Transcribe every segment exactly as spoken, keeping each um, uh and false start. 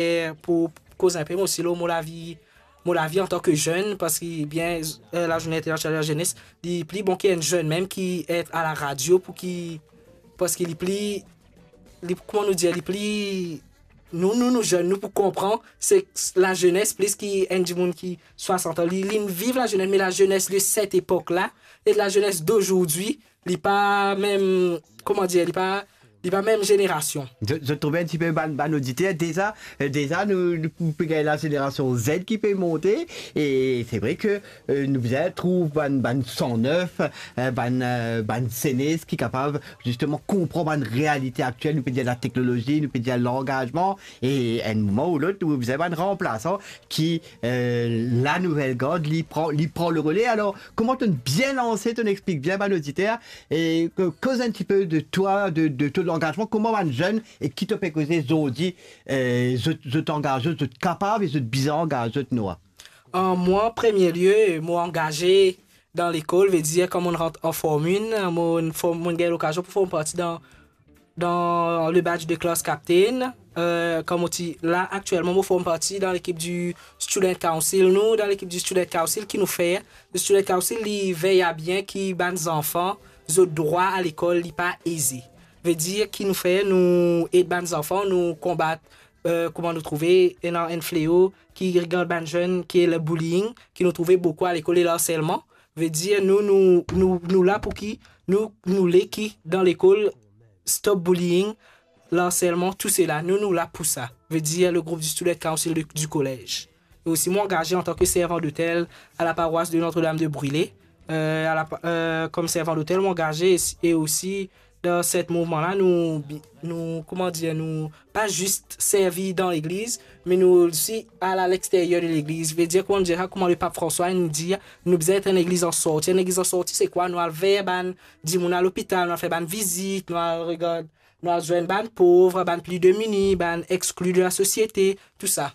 e pou koz inpe mo osi lor mo lavi, mo lavi antan ke zenn, parski bien, eh, lazourne internasional de lazenes, li pli bon ki enn zenn mem ki et a la radio pou ki, parski li pli, li, kouma nou dir, li pli, nou, nou, nou zenn, nou pou konpran, se lazenes plis ki enn dimoun ki swasant an. Li, li viv lazenes, me lazenes de set epok la, e lazenes dozordi, li pa mem, kouma dir, li pa, li pa mem zenerasion. Zot, zot trouve enn tipe bann, bann oditer deza, eh, deza nou, nou pe gagn lazenerasion Z ki pe monte, e se vre ke, eh, nou bizin trouv bann, bann san nef, eh, bann, eh, bann zenes ki kapav zisteman konpran bann realite aktiel, nou pe dir lateknolozi, nou pe dir langazman, e enn moman ou lot, nou bizin bann ranplasan ki, eh, lanouvel gard, li pran, li pran le rele. Alor, kouma to'nn bien lanse, to'nn explik bien bann oditer, e ko-, koz enn tipe de twa, de, de to langazman, kouma bann zenn e ki to pe koze zordi, eh, zot, zot angaze, zot kapav e zot bizin angaz zot, Noah? An mwa, premie lie, mo angaze dan lekol, vedir kan mo'nn rant an Form enn, mo'nn form, mo'nn gagn lokazion pou form parti dan dan le badge de class captain. Eh, kan mo ti la, aktielman mo form parti dan lekip di Student Council. Nou, dan lekip di Student Council, ki nou fer? Le Student Council, li vey a bien ki bann zanfan, zot drwa a lekol, li pa eze. Vedir ki nou fer, nou ed bann zanfan, nou konbat, eh, kouma nou trouve ena enn fleo ki regard bann zenn, ki le bullying, ki nou trouve boukou a lekol, e larselman. Vedir nou, nou, nou, nou la pou ki, nou, nou le ki dan lekol, stop bullying, larselman, tou sela, nou, nou la pou sa. Vedir le group di Student Council de, di kolez. E osi, mo angaze antan ke servan dotel a la parwas de Notre-Dame de Brûlé. Eh, a la pa-, eh, kom servan dotel, mo angaze e, e osi, dan set mouvman la, nou, nou, kouma dir, nou pa zis servi dan legliz, me nou osi al a lexteryer de legliz. Vedir, kouma nou dir sa, kouma le Pap Franswa inn dir, nou bizin et enn legliz an sorti. Enn legliz an sorti, se kwa? Nou al ver bann dimoun a lopital, nou al fer bann vizit, nou al regard, nou al zwenn bann pov, bann pli demini, bann exkli de la sosiete, tou sa.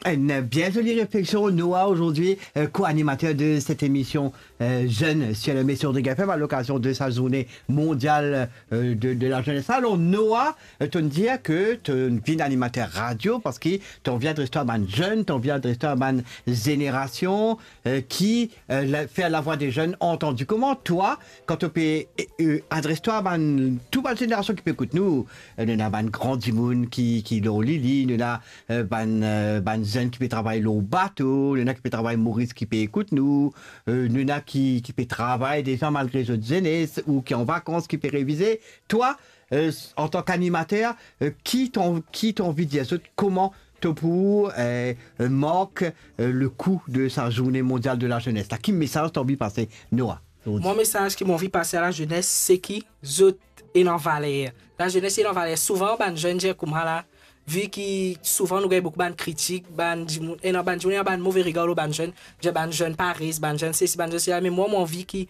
Enn bien zoli refleksion, Noah, aujourd'hui, euh, co-animateur de cette émission, euh, Jeunes sur l'émission de Ring F M à l'occasion de sa journée mondiale, euh, de, de la jeunesse. Alors, Noah, euh, to'nn dir ke to'nn vinn animater radio parski to'nn anvi adres twa bann zenn, to'nn anvi adres twa bann zenerasion, euh, ki, euh, la, fer lavwa de zenn antandi. Kouma twa, kan to pe, euh, adres twa bann, tou bann zenerasion ki pe ekout nou, euh, nou ena bann gran dimoun ki, ki lor lili, nou ena, euh, bann, euh, bann zenn ki pe travay lor bato, nou ena ki pe travay Moris ki pe ekout nou, euh, nou ena ki, ki pe travay deza malgre zot zenes ou ki an vakans, ki pe revize. Twa, euh, antan k'animater, euh, ki to, ki to anvi dir zot, kouma to pou, euh, euh, mark, euh, le coup de sa journée mondiale de la jeunesse la? Ki mesaz to anvi pase, Noah, zordi? Mwa, mesaz ki mo anvi pase a lazenes, se ki zot ena valer. Lazenes ena valer. Souvan, bann zenn dir kouma la, vi ki souvan nou gagn boukou bann kritik, bann dimoun, ena bann dimoun, ena bann move regar lor bann zenn, dir bann zenn pares, bann zenn sesi, bann zenn sela, me mwa, mo anvi ki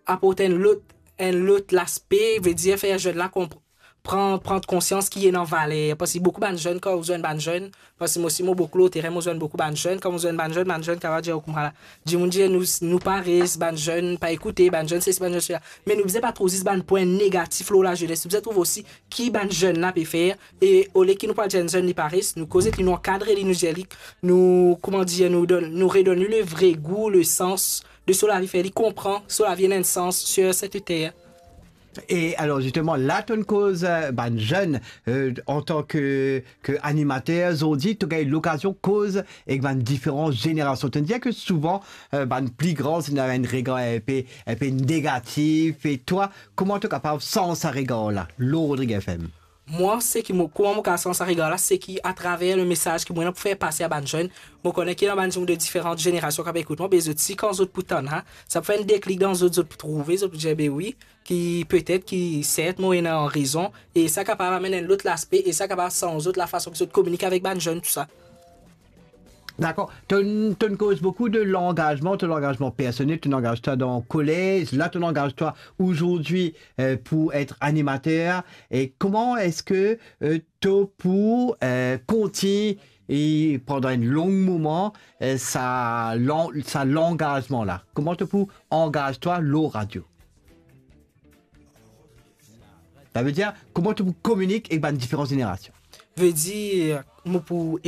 aport enn lot, enn lot laspe, vedir fer zenn la konp-, pran, pran konsians ki ena valer. Parski boukou bann zenn, kan ou zwenn bann zenn, parski mo osi mo boukou lor terin, mo zwenn boukou bann zenn, kan mo zwenn bann zenn, bann zenn kapav dir kouma la, dimoun dir nou, nou pares, bann zenn pa ekoute, bann zenn sesi, bann zenn sela. Me nou bizin pa trouv zis bann pwin negatif lor lazenes, nou bizin trouv osi ki bann zenn la pe fer, e olie ki nou pa dir enn zenn li pares, nou koz li, nou ankadre li, nou dir li, nou, kouma dir, nou donn, nou redonn li le vre gou, le sans de so lavi, fer li konpran so lavi ena enn sans sur cette terre. E alor, zisteman, la to'nn koz, euh, bann zenn, euh, antan ke, ke animater, zordi, to gagn lokazion koz ek bann diferan zenerasion. To'nn dir ke souvan, euh, bann pli gran, zot ena enn regar inpe, inpe negatif. E twa, kouma to kapav sanz sa regar la, lor Ring F M? Mwa, seki mo, kouma mo kapav sanz sa regar la, seki atraver le mesaz ki mo ena pou fer pase a bann zenn. Mo kone ki ena bann dimoun de diferan zenerasion ki pe ekout mwa, be zot si kan zot pou tann, ha, sa pou fer enn deklik dan zot, zot pou trouve, zot pou dir, be wi, ki petet ki sert mo ena rezon, e sa kapav amenn enn lot laspe, e sa kapav sanz zot lafason ki zot kominike avek bann zenn, tou sa. Dakor. To'nn, to'nn koz boukou de langazman, to langazman personel, to'nn angaz twa dan kolez, la to'nn angaz twa ozordi, euh, pou et animater. E kouma eski, euh, to pou, euh, kontign e pandan enn long moman, euh, sa lan-, sa langazman la? Kouma to pou angaz twa lor radio? Savedir, kouma to pou kominik ek bann diferan zenerasion? Vedir, mo pou